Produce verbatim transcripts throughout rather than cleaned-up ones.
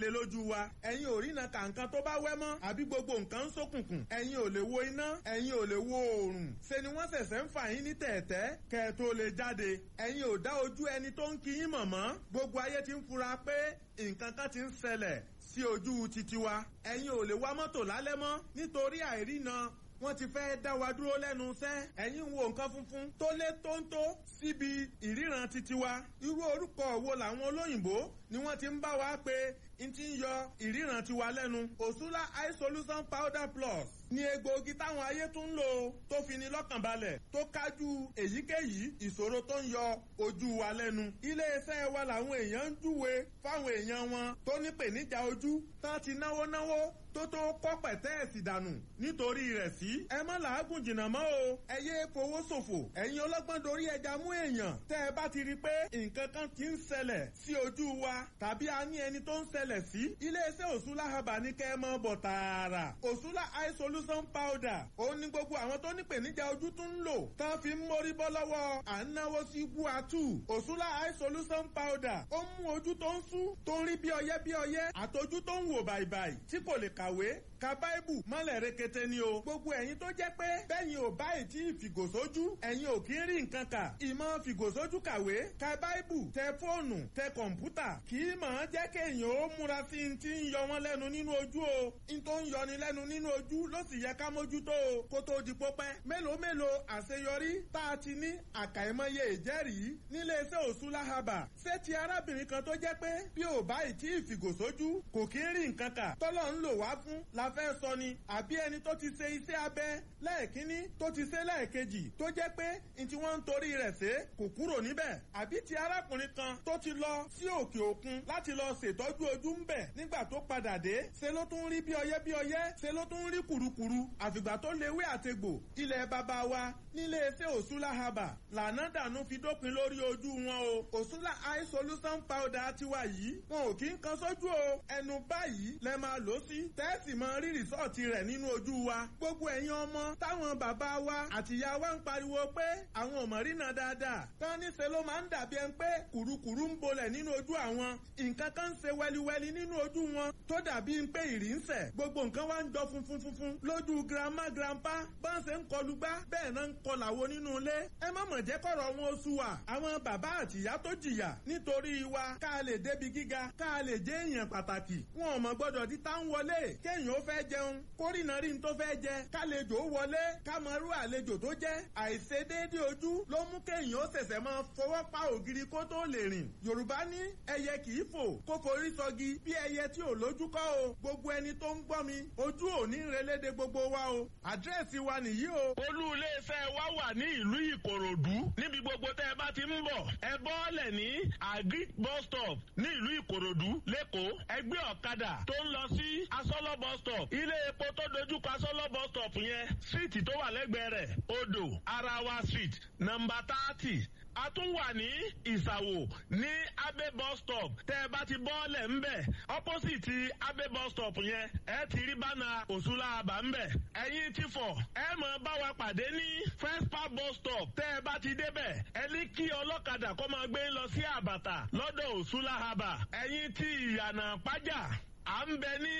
jáde lójú wa. Ẹ̀yin ò rína kàǹkan tó bá wẹ́ mọ́, àbí gbogbo nǹkan ń ṣókùnkùn. Ẹ̀yin ò lè wo iná, ẹ̀yin ò lè wo oòrùn. Ṣe ni wọ́n ṣẹ̀ṣẹ̀ ń fà yín ní tẹ̀ẹ̀tẹ́ kẹ́ ẹ tó lè jáde. Ẹ̀yin ò dá ojú ẹni tó ń kí yín mọ̀ mọ́. Gbogbo ayé ti ń fura pé nǹkan kan ti ń ṣẹlẹ̀ sí ojú titi wa. Ẹ̀yin ò lè wa mọ́tò lálẹ́ mọ́ nítorí àìrína, wọ́n ti fẹ́ dá wa dúró lẹ́nu iṣẹ́. Ẹ̀yin ń wo nǹkan funfun tó lé tóńtó síbi ìríran titi wa. Irú orúkọ wo làwọn olóyìnbó ni wọ́n ti ń bá wa pé n ti ń yọ ìríran tiwa lẹ́nu? Òṣùlá Eye Solution Powder Plus ní egbòogi táwọn ayé tún ń lò tó fi ni lọ́kàn balẹ̀, tó kájú èyíkéyìí ìṣòro tó ń yọ ojú wa lẹ́nu. Iléeṣẹ́ wa làwọn èèyàn ń júwe fáwọn èèyàn wọn tó ní pèníjà ojú tán ti náwó náwó tó tó kọ́ pẹ̀tẹ́ẹ̀sì dànù nítorí rẹ̀ sí. Ẹ má làágùn jìnnà mọ́ o. Ẹ yé fowó ṣòfò. Ẹ̀yin ọlọ́gbọ́n dorí ẹja mú èèyàn. Tẹ́ ẹ bá ti rí i pé nǹkan kan ti ń ṣẹlẹ̀ sí ojú wa tàbí a ní ẹni tó ń ṣẹlẹ̀ sí, iléeṣẹ́ Òṣùlá Herbal ní kẹ́ ẹ mọ́ bọ̀ tààrà. Òṣùlá Eye Solution Powder, òun ni gbogbo àwọn tó ní pèníjà ojú tún ń lò tán fi ń mórí bọ́ lọ́wọ́ à ń náwó sí guatu. Òṣùlá Eye Solution Powder, ó mú ojú tó ń sú, tó ń rí bí ọyẹ́ bí ọyẹ́, àtọjú tó ń wò bàìbàì tí kò lè kàwé, ka báìbù mọ́lẹ̀ rekete ni o. Gbogbo ẹ̀yin tó jẹ́ pé bẹ́yìn ò báyìí tí ìfìgòsójú, ẹ̀yin ò kí ń rí nǹkan kà. Ìmọ̀ fìgòsójú kàwé, ka báìbù, tẹ fóònù, tẹ kọ̀ǹpútà, kì í mọ̀ ọ́n jẹ́ kéèyàn ó múra sí i ti ń yọ wọ́n lẹ́nu nínú ojú o. N tó ń yọni lẹ́nu nínú ojú ló sì yẹ ká mójútó o kó tó di pópẹ́. Mélòó mélòó àṣeyọrí tá a ti ní, àkàìmọye ìjẹ́rìí níléeṣẹ́ Òṣùlá Herbal. Ṣé ti arábìnrin kan tó jẹ́ pé bí ò báyìí tí ìfìgòsójú kò kí ń rí nǹkan kà, tọ́lọ́ ń lò wá fún la fẹ́ sọ ni, àbí ẹni tó ti ṣe iṣẹ́ abẹ lẹ́ẹ̀kínní, tó ti ṣe lẹ́ẹ̀kejì, tó jẹ́ pé n tí wọ́n ń torí rẹ̀ ṣe kò kúrò níbẹ̀, àbí ti arákùnrin kan tó ti lọ sí òkè òkun láti lọ ṣètọ́jú ojú ń bẹ̀, nígbà tó padà dé ṣe ló tún rí bí ọyẹ́ bí ọyẹ́, ṣe ló tún rí kùrukùru, àfìgbà tó lewé àtegbò ilẹ̀ bàbá wa nílé iṣẹ́ Òṣùlá Herbal lànà dànù fi dópin lórí ojú wọn o. Òṣùlá Eye Solution Powder tiwa yìí, wọn ò kí ń kan sójú o. Ẹnu báyìí lẹ máa lò sí, tẹ́ẹ̀sì mọ rí rìsọ́ọ̀tì rẹ̀ nínú ojú wa. Gbogbo ẹ̀yin ọmọ táwọn bàbá wa àtìyá wa ń pariwo pé àwọn ò mọ̀ rínà dáadáa, tán níṣe ló máa ń dàbí ẹni pé kùrukùru ń bolẹ̀ nínú ojú àwọn, nǹkan kan ń ṣe wẹliwẹli nínú ojú wọn tó dàbí ń pé ìrì ń sẹ̀, gbogbo nǹkan wá ń jọ funfun funfun lójú grandma grandpa, bá ń ṣe ń kọlu gbá bẹ́ẹ̀ náà ń kọlàwo nínú ilé. Ẹ má mọ̀ jẹ́ kọ̀rọ̀ wọn oṣù wa. Àwọn bàbá àtìyá tó jìyà nítorí wa ká lè débi gíga, ká lè jẹ́ èèyàn pàtàkì, wọn ò mọ̀ gbọ́dọ̀ di tá ń wọlé kéèyàn ó fẹ́ jẹun kórìnà rí n tó fẹ́ jẹ, kálejò ó wọlé kámọ́rú àlejò tó jẹ́. Àìṣedéédé ojú ló mú kéèyàn ó ṣẹ̀ṣẹ̀ máa fọwọ́ pa ògiri kó tó lè rìn. Yorùbá ní ẹyẹ kì í fò kó forí sọgi, bí ẹyẹ tí ò lójú kọ́ o. Gbogbo ẹni tó ń gbọ́ mi, ojú ò ní relédè gbogbo wa o. Àdírẹ́sì wa nìyí o. Olú iléeṣẹ́ wa wà ní ìlú Ìkòròdú. Níbi gbogbo tẹ́ ẹ bá ti ń bọ̀, ẹ bọ́ọ̀lẹ̀ ní Agric bus stop ní ìlú Ìkòròdú lẹ́kọ̀ọ́. Ẹgbẹ́ ọ̀kadà tó ń lọ sí Asọ́lọ́ bus stop, ilé epo tó dojúkọ Asọ́lọ́ bus stop yẹn, síìtì tó wà lẹ́gbẹ̀ẹ́ rẹ̀, Odò Arawa Street, nọ́mbà thirty. A tún wà ní Ìsàwò ní Abe bus stop. Tẹ́ ẹ bá ti bọ́ọ̀lẹ̀ ńbẹ̀, opposite Abe bus stop yẹn, ẹ ti rí bánà Òṣùlá Herbal ńbẹ̀. Ẹ̀yin ti fọ̀, ẹ mọ̀ bá wa pàdé ní First Park bus stop. Tẹ́ ẹ bá ti débẹ̀, ẹ ní kí ọlọ́kadà kó máa gbé lọ sí Àbàtà lọ́dọ̀ Òṣùlá Herbal. Ẹ̀yin ti Ìyànà Pájà, à ń bẹ ní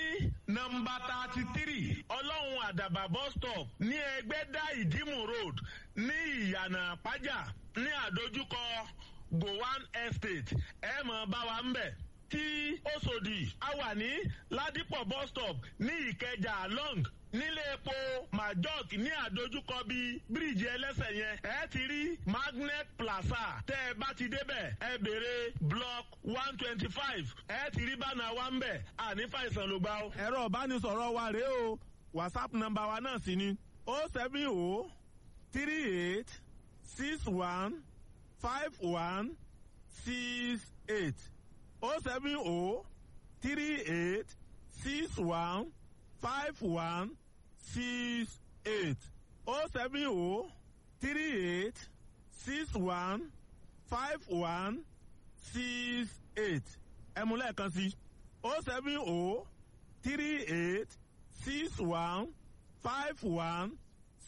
nọ́mbà thirty three Ọlọ́run Àdàbà bus stop ní Ẹgbẹ́dá Ìdímù Road ní Ìyànà Pájà ní àdójúkọ Gowan Estate. Ẹ mọ̀ bá wa ń bẹ̀. Tí Òṣòdì, a wà ní Ládìpọ̀ bus stop ní Ìkẹjà long nílé epo Majok ní àdójúkọ bíi bíríìjì ẹlẹ́sẹ̀ yẹn, ẹ ti rí Magnet Plaza. Tẹ́ ẹ bá ti débẹ̀, ẹ béèrè block one twenty five, ẹ ti rí bánà wa ń bẹ̀. Àní fàìsàn ló gbà ó. Ẹ̀rọ ìbánisọ̀rọ̀ wa rèé o. WhatsApp nọ́mbà wa náà sì ni o seven o three eight six one five one six eight, o seven o three eight six one five one six eight, o seven o three eight six one five one six eight. Five one six eight. Ẹ mú lẹ́ẹ̀kan sí o seven o three eight six one five one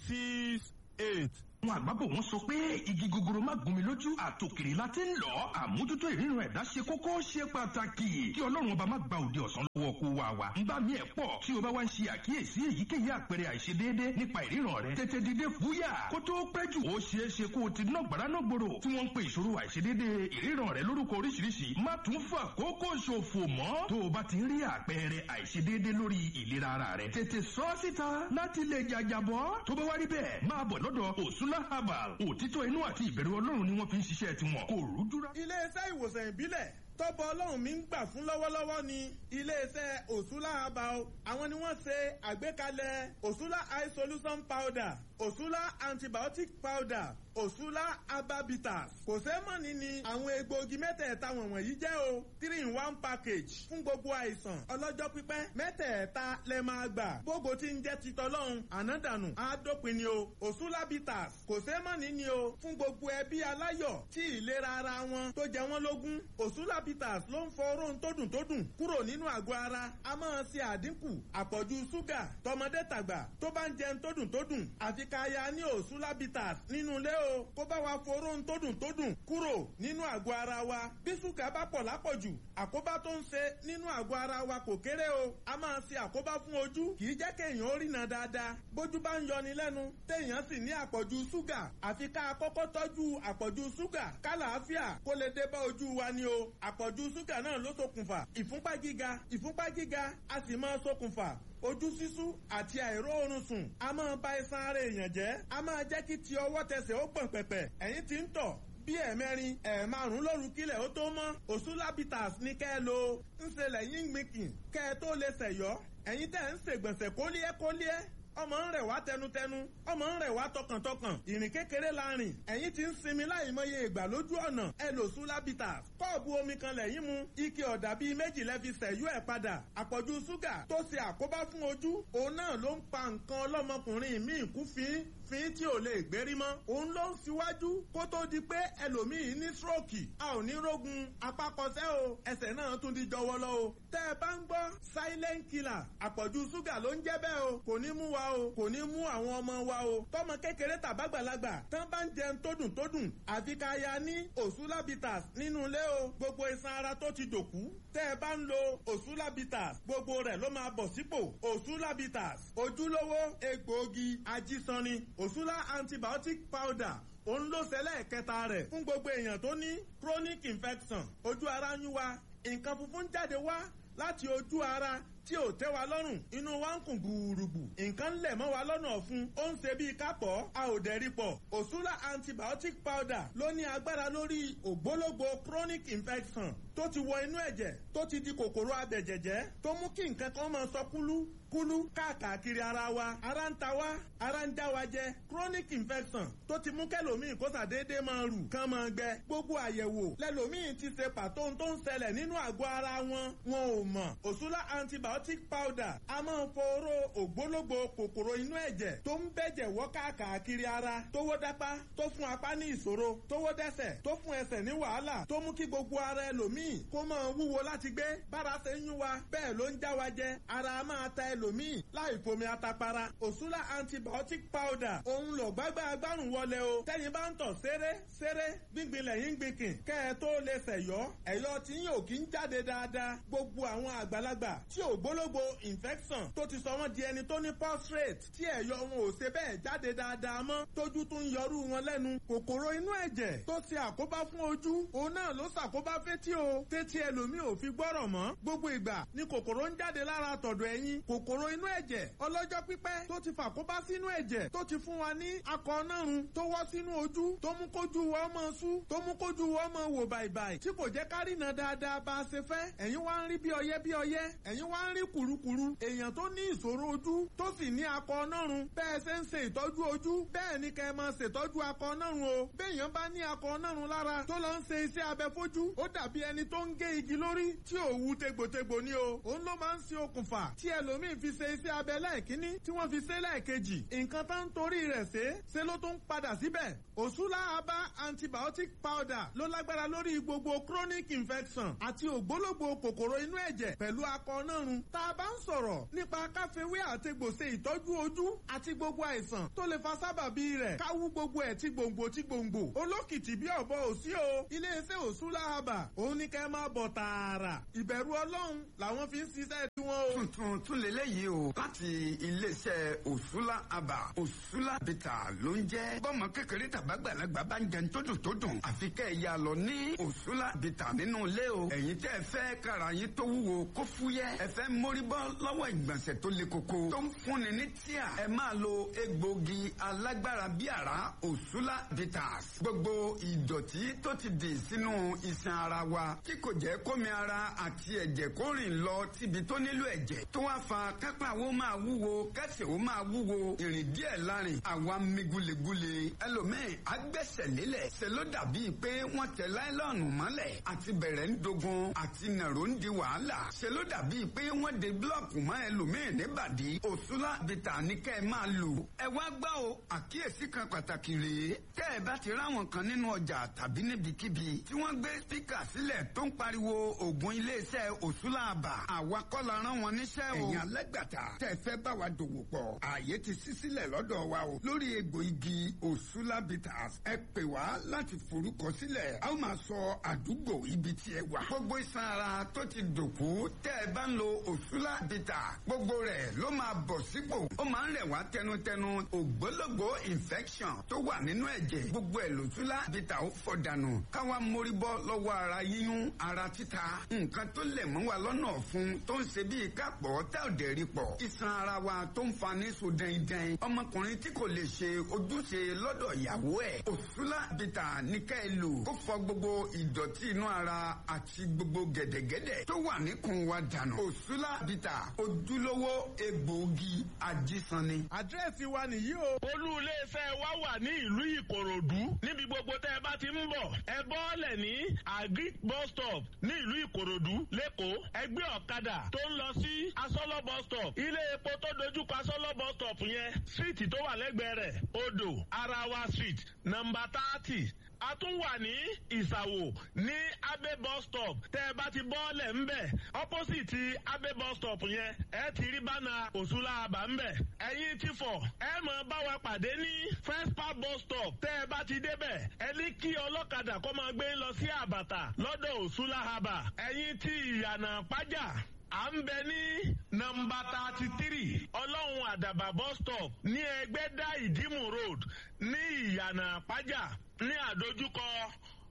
six eight. Àwọn àgbàbọ̀ wọn sọ pé igi gogoro má gún mi lójú, àtòkèrè la ti ń lọ. Àmójútó ìríran ẹ̀dá ṣe kókó, ṣe pàtàkì. Kí Ọlọ́run ọba má gba òde ọ̀sán lọ́wọ́ kó wa wa. Ń bá mi ẹ̀ pọ̀ tí o bá wá ń ṣe àkíyèsí èyíkéyìí àpẹẹrẹ àìṣedéédé nípa ìríran rẹ, tètè dìde fúyà kó tó pẹ́ jù. Ó ṣeé ṣe kó o ti ná gbàrà náà gbòòrò tí wọ́n ń pe ìṣòro àìṣedéédé ìríran rẹ lórúkọ oríṣiríṣi. Má tún fà kókó ṣòfò mọ́. Tó o bá ti ń rí àpẹẹrẹ àìṣedéédé lórí ìlera ara rẹ, tètè sọ ọ́ síta láti lè jàjàbọ́. Tó bá wá rí bẹ́ẹ̀, máa bọ̀ lọ́dọ̀ Òsúnlá Herbal. Òtítọ́ inú àti ìbẹ̀rù Ọlọ́run ni wọ́n fi ń ṣiṣẹ́ tiwọn. Kò rújú rá. Iléeṣẹ́ ìwòsàn ìbílẹ̀ tọ́bọ̀ Ọlọ́run mi ń gbà fún lọ́wọ́lọ́wọ́ ni iléeṣẹ́ Òsúlá Herbal. Àwọn ni wọ́n ṣe àgbékalẹ̀ Òsúlá Eye Solution Powder, Òsúlá Antibiotic Powder, Òsúlá Herbabitas. Kò sẹ́mọ̀nì ni àwọn egbòogi mẹ́tẹ̀ẹ̀ta wọ̀nyí jẹ́ o. Three in one package fún gbogbo àìsàn ọlọ́jọ́ pípẹ́. Mẹ́tẹ̀ẹ̀ta lẹ máa gbà. Gbogbo tí ń jẹ́ ti tọ́lọ́run ànádànù àádópin ni o. Òsúlá Bitters kò sẹ́mọ̀nì ni o fún gbogbo ẹbí aláyọ̀ tí ìlera ara wọn tó jẹ wọ́n lógún. Òsúlá Bitters ló ń fọ oróhun tó dùn tó dùn kúrò nínú àgọ́ ara. A máa ṣe àdínkù àpọ̀jù ṣúgà tọmọdé tàgbà tó bá ń jẹun tó dùn tó dùn. Àfi ká ya ní Òsúlá Bitters nínú ilé o, kó bá wa foróhun tó dùn tó dùn kúrò nínú àgọ́ ara wa. Bí ṣúgà bá pọ̀ lápọ̀jù, àkóbá tó ń ṣe nínú àgọ́ ara wa kò kéré o. A máa ṣe àkóbá fún ojú, kì í jẹ́ kéèyàn ó rìnà dáadáa. Bójú bá ń yọni lẹ́nu, téèyàn sì ní àpọ̀jù ṣúgà, àfi ká kọ́kọ́ tọ́jú àpọ̀jù ṣúgà kálàáfíà kó lè dé bá ojú wa ni o. Àpọ̀jù ṣúgà náà ló ṣokùnfà ìfúnpá gíga. Ìfúnpá gíga a sì máa ṣokùnfà ojú sísú àti àìróorun sùn. A máa ba iṣan ara èèyàn jẹ́, a máa jẹ́ kí ti ọwọ́ tẹsẹ̀ ó gbọ̀n pẹ̀pẹ̀. Ẹ̀yin tí ń tọ̀ bí ẹ̀ẹ̀mẹrin ẹ̀ẹ̀márùn lóru kílẹ̀ ó tó mọ́, Òsúlá Bitters ní kẹ́ ẹ lo. Ń ṣe lẹ́yìn gbìnkìn kẹ́ ẹ tó lè ṣẹ̀yọ́. Ẹ̀yin tẹ́ ń ṣègbọ̀nsẹ̀ kólíẹ́ kólíẹ́, ọmọ ń rẹ̀ wá tẹnutẹnu, ọmọ ń rẹ̀ wá tọkàntọkàn, ìrìn kékeré la rìn, ẹ̀yin ti ń sinmi láìmọye ìgbà lójú ọ̀nà, ẹ lò Òsúlá Bitters. Kọ́ọ̀bù omi kan lẹ́yìn mu, ike ọ̀dà bíi méjì lẹ́ fi sẹ̀yú ẹ̀ padà. Àpọ̀jù ṣúgà tó ṣe àkóbá fún ojú, òun náà ló ń pa nǹkan ọlọ́mọkùnrin míì kú fín fín tí ò lè gbérí mọ́. Òun ló ń ṣíwájú kó tó di pé ẹlòmíì ní stroke. A ò ní rógun apákọsẹ́ o, ẹsẹ̀ náà tún di jọwọ́lọ́ o. Tẹ́ ẹ bá ń gbọ́ silent killer, àpọ̀jù ṣúgà ló ń jẹ́ bẹ́ẹ̀ o. Kò ní mú wa o, kò ní mú àwọn ọmọ wa o. Tọmọ kékeré tàbágbàlagbà tán bá ń jẹun tó dùn tó dùn, àfi ká ya ní Òsúlá Bitters nínú ilé o. Gbogbo iṣan ara tó ti dòkú, tẹ́ ẹ bá ń lo Òsúlá Bitters, gbogbo rẹ̀ ló máa bọ̀ sípò. Òsúlá Bitters, ojúlówó egbòogi ajísanni. Òsúlá Antibiotic Powder, òun ló ṣẹlẹ̀ kẹta rẹ̀ fún gbogbo èèyàn tó ní chronic infection. Ojú ara ń yún wa, nǹkan funfun jáde wá láti ojú ara tí ò tẹ́ wa lọ́rùn, inú wa ń kùn gbùrùgbù, nǹkan lẹ̀ mọ́ wa lọ́nà ọ̀fun, ó ń ṣe bíi kápọ̀, a ò dẹ̀rí pọ̀. Òsúlá Antibiotic Powder ló ní agbára lórí ògbólógbò chronic infection tó ti wọ inú ẹ̀jẹ̀, tó ti di kòkòrò abẹ̀jẹ̀jẹ̀, tó mú kí nǹkan kan máa sọ kúlú kúlú káàkiri ara wa. Ara ń ta wá, ara ń já wa jẹ. Chronic infection tó ti mú kẹlòmíì kó sàdédé máa rù kán máa gbẹ. Gbogbo àyẹ̀wò lẹlòmíì ti ṣe pàtó tó ń ṣẹlẹ̀ nínú àgọ́ ara wọn, wọn ò mọ̀. Òsúlá Antibiotic Powder a máa ń foró ògbólógbò kòkòrò inú ẹ̀jẹ̀ tó ń bẹ̀jẹ̀ wọ́ káàkiri ara, tó wó dápá, tó fún apá ní ìṣòro, tó wó dẹ́sẹ̀, tó fún ẹsẹ̀ ní wàhálà, tó mú kí gbogbo ara ẹlòmíì kó máa wúwo láti gbé. Bára ṣe ń yún wa bẹ́ẹ̀ ló ń já wa jẹ. Ara máa ta ẹlòmíì láì fomi atapara. Òsúlá Antibiotic Powder òun lọ gbágbá agbárùn wọlé o. Tẹ́yin bá ń tọ̀ séré séré, gbíngbin lẹ́yìn gbìnkìn kẹ́ ẹ tó lè ṣẹ̀yọ́, ẹ̀yọ́ tí yóò kí ń jáde dáadáa. Gbogbo àwọn àgbàlagbà tí ògbólógbò infection tó ti sọ wọ́n di ẹni tó ní prostate, tí ẹ̀yọ́ wọn ò ṣe bẹ́ẹ̀ jáde dáadáa mọ́, tójú tún yọrú wọn lẹ́nu. Kòkòrò inú ẹ̀jẹ̀ tó ṣe àkóbá fún ojú, òun náà ló ṣàkóbá fétí o, tétí ẹlòmíì ò fi gbọ́rọ̀ mọ́. Gbogbo ìgbà ni kòkòrò ń jáde lára tọ̀dọ̀ ẹ̀yìn. Kòkòrò inú ẹ̀jẹ̀ ọlọ́jọ́ pípẹ́ tó ti fàkóbá sínú ẹ̀jẹ̀, tó ti fún wa ní akọ nárun tó wọ́ sínú ojú, tó mú kójú wa ọmọ sú, tó mú kójú wa ọmọ wò bàìbàì, tí kò jẹ́ kárìnà dáadáa bá a ṣe fẹ́. Ẹ̀yin wá ń rí bí ọyẹ́ bí ọyẹ́, ẹ̀yin wá ń rí kùrukùru. Èèyàn tó ní ìṣòro ojú tó sì ní akọ nárun, bẹ́ẹ̀ ṣe ń ṣe ìtọ́jú ojú bẹ́ẹ̀ ni kẹ́ ẹ máa ṣètọ́jú akọ nárun o. Béèyàn bá ní akọ nárun lára tó lọ ń ṣe iṣẹ́ abẹ fojú, ó dàbí ẹni ẹni tó ń gé igi lórí tí ò wú tegbòtegbò ni o. Òun ló máa ń ṣe okùnfà tí ẹlòmíì fi ṣe iṣẹ́ abẹ lẹ́ẹ̀kínní tí wọ́n fi ṣe lẹ́ẹ̀kejì. Nǹkan tá ń torí rẹ̀ ṣe ṣe ló tún padà síbẹ̀. Òṣùlá Aba antibiotic powder ló lágbára lórí gbogbo chronic infection àti ògbólógbò kòkòrò inú ẹ̀jẹ̀ pẹ̀lú akọ nárun. Tá a bá ń sọ̀rọ̀ nípa káfíwé àtegbò ṣe ìtọ́jú ojú àti gbogbo àìsàn tó lè fa sábàbí rẹ̀ káwú gbogbo ẹ̀ tí gbòǹgbò tí gbòǹgbò. Olókìtì bí ọ̀bọ òsí o. Iléeṣẹ́ Òṣùlá Aba òun ní kẹ́ máa bọ̀ tààrà. Ìbẹ̀rù Ọlọ́run làwọn fi ń ṣiṣẹ́ tiwọn o. Tuntun tún lélẹ́yìí o láti iléeṣẹ́ Òṣùlá Aba. Òṣùlá Bìtà ló ń jẹ́. Bọ́mọ kékeré tàbágbàlagbà bá ń jẹun tó dùn tó dùn. Àfi kẹ́ ẹ̀ ya lọ ní Òṣùlá Bìtà nínú ilé o. Ẹ̀yin tẹ́ ẹ fẹ́ kára yín tó wúwo kó fúyẹ́. Ẹ fẹ́ mórí bọ́ lọ́wọ́ ìgbọ̀nsẹ̀ tó le koko tó ń fúnni ní tíà. Ẹ máa lo egbògi alágbára bí àrá Òṣùlá Bitters. Gbogbo ìdọ̀tí tó ti dì sínú iṣan ara wa tí kò jẹ́ kómi ara àti ẹ̀jẹ̀ kó rìn lọ síbi tó nílò ẹ̀jẹ̀ tó wá fa kápá wo máa wúwo kẹsẹ̀ wo máa wúwo ìrìn díẹ̀ lárin àwa mi gulegule ẹlòmíì agbẹ́sẹ̀ lélẹ̀ ṣe ló dàbí pé wọ́n tẹ láìlọ́ọ̀nù mọ́lẹ̀ àti bẹ̀rẹ̀ ń dogun àti nàró ń di wàhálà ṣe ló dàbí pé wọ́n de búlọ̀kù mọ́ ẹlòmíì níbàdí. Òṣùlá Bìtà ní kẹ́ ẹ máa lò. Ẹ wá gbọ́ o, àkíyèsí kan pàtàkì rèé. Tẹ́ ẹ bá ti ráwọn kan nínú ọjà tàbí níbikíbi tí wọ́n gbé spíkà sílẹ̀ tó ń pariwo ògùn iléeṣẹ́ Òṣùlá Aba, àwa kọ́ la rán wọn níṣẹ́ o. Ẹ̀yin alágbàtà tẹ́ ẹ fẹ́ bá wa dòwò pọ̀, ààyè ti ṣí sílẹ̀ lọ́dọ̀ wa o. Lórí egbò igi Òṣùlá Bitters, ẹ pè wá láti forúkọ sílẹ̀. A ó máa sọ àdúgbò ibi tí ẹ wà. Gbogbo iṣan ara tó ti dòkú tẹ́ ẹ bá ń lo Òṣùlá Bitters, gbogbo rẹ̀ ló máa bọ̀ sípò. Ó máa ń rẹ̀ wá tẹnutẹnu. Ògbólógbò infection tó wà nínú ẹ̀jẹ̀, gbogbo ẹ̀ lòṣùlá Bitters ó fọ̀ dànù. Káwa mórí bọ́ lọ́wọ́ ara yíyún, ara títa, nǹkan tó lẹ̀ mọ́ wa lọ́nà ọ̀fun tó ń ṣe bíi kápọ̀ tá ò dẹ̀ rí pọ̀. Iṣan ara wa tó ń fa ní so dẹ́ndẹ́n. Ọmọkùnrin tí kò lè ṣe ojúṣe lọ́dọ̀ ìyàwó ẹ̀. Òṣùlá Bitters ní ká ẹ lò. Ó fọ gbogbo ìdọ̀tí inú ara àti gbogbo gẹ̀dẹ̀gẹ̀dẹ̀ tó wà níkùn wa dànù. Òṣùlá Bitters, ojúlówó egbòogi ajísanni. Àdírẹ́sì wa nìyí o. Olú iléeṣẹ́ wa wà ní ìlú Ìkòròdú. Níbi gbogbo tẹ́ ẹ bá ti ń bọ̀, ẹ bọ́ọ̀lẹ̀ ní Agric bus stop ní ìlú Ìkòròdú lẹ́kọ̀ọ́. Ẹ gbé ọ̀kadà tó ń lọ sí Asọ́lọ́ bus stop. Ilé epo tó dojúkọ Asọ́lọ́ bus stop yẹn, street tó wà lẹ́gbẹ̀ẹ́ rẹ̀, Odò Arawa Street, nọ́mbà thirty. A tún wà ní Ìsàwò ní Abe bus stop. Tẹ́ ẹ bá ti bọ́ọ̀lẹ̀ ńbẹ̀, opposite Abe bus stop yẹn, ẹ ti rí bánà Òṣùlá Aba ńbẹ̀. Ẹ̀yin ti fọ̀, ẹ mọ̀ bá wa pàdé ní First Park bus stop. Tẹ́ ẹ bá ti débẹ̀, ẹ ní kí ọlọ́kadà kó máa gbé lọ sí Àbàtà lọ́dọ̀ Òṣùlá Aba. Ẹ̀yin ti Ìyànà Pájà, à ń bẹ ní nọ́mbà thirty three Ọlọ́run Àdàbà bus stop ní Ẹgbẹ́dá Ìdímù road ní Ìyànà Pájà ní àdójúkọ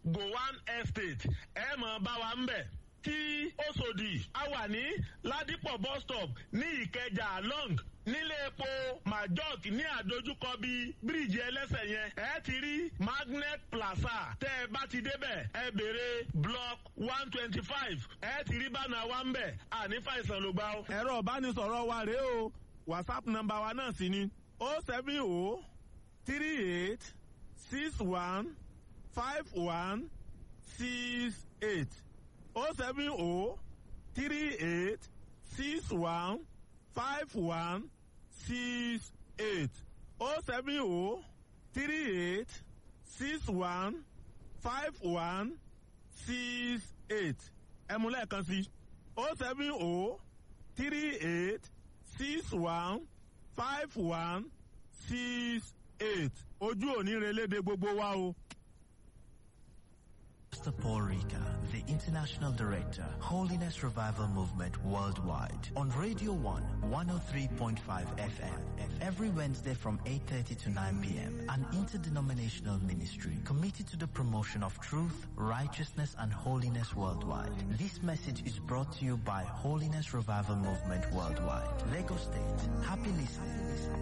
Gowan Estate. Ẹ mọ̀ bá wa ń bẹ̀. Tí Òṣòdì, a wà ní Ládìpọ̀ bus stop ní Ìkẹjà long nílé epo Majok ní àdójúkọ bíi bíríìjì ẹlẹ́sẹ̀ yẹn. Ẹ ti rí Magnet Plaza. Tẹ́ ẹ bá ti débẹ̀, ẹ béèrè block one twenty five. Ẹ ti rí bánà wa ń bẹ̀. Àní fàìsàn ló gbà ó. Ẹ̀rọ ìbánisọ̀rọ̀ wa rèé o. WhatsApp nọ́mbà wa náà sì ni o seven o three eight six one five one six eight o seven o three eight six one five one six eight o seven o three eight six one five one six eight. Ẹ mú lẹ́ẹ̀kan sí o seven o three eight six one five one six eight. Ojú òní relédè gbogbo wa o. Pastor Paul Rika, the International Director, Holiness Revival Movement Worldwide, on Radio one, one oh three point five F M, every Wednesday from eight thirty to nine p m, an interdenominational ministry committed to the promotion of truth, righteousness, and holiness worldwide. This message is brought to you by Holiness Revival Movement Worldwide, Lagos State. Happy listening.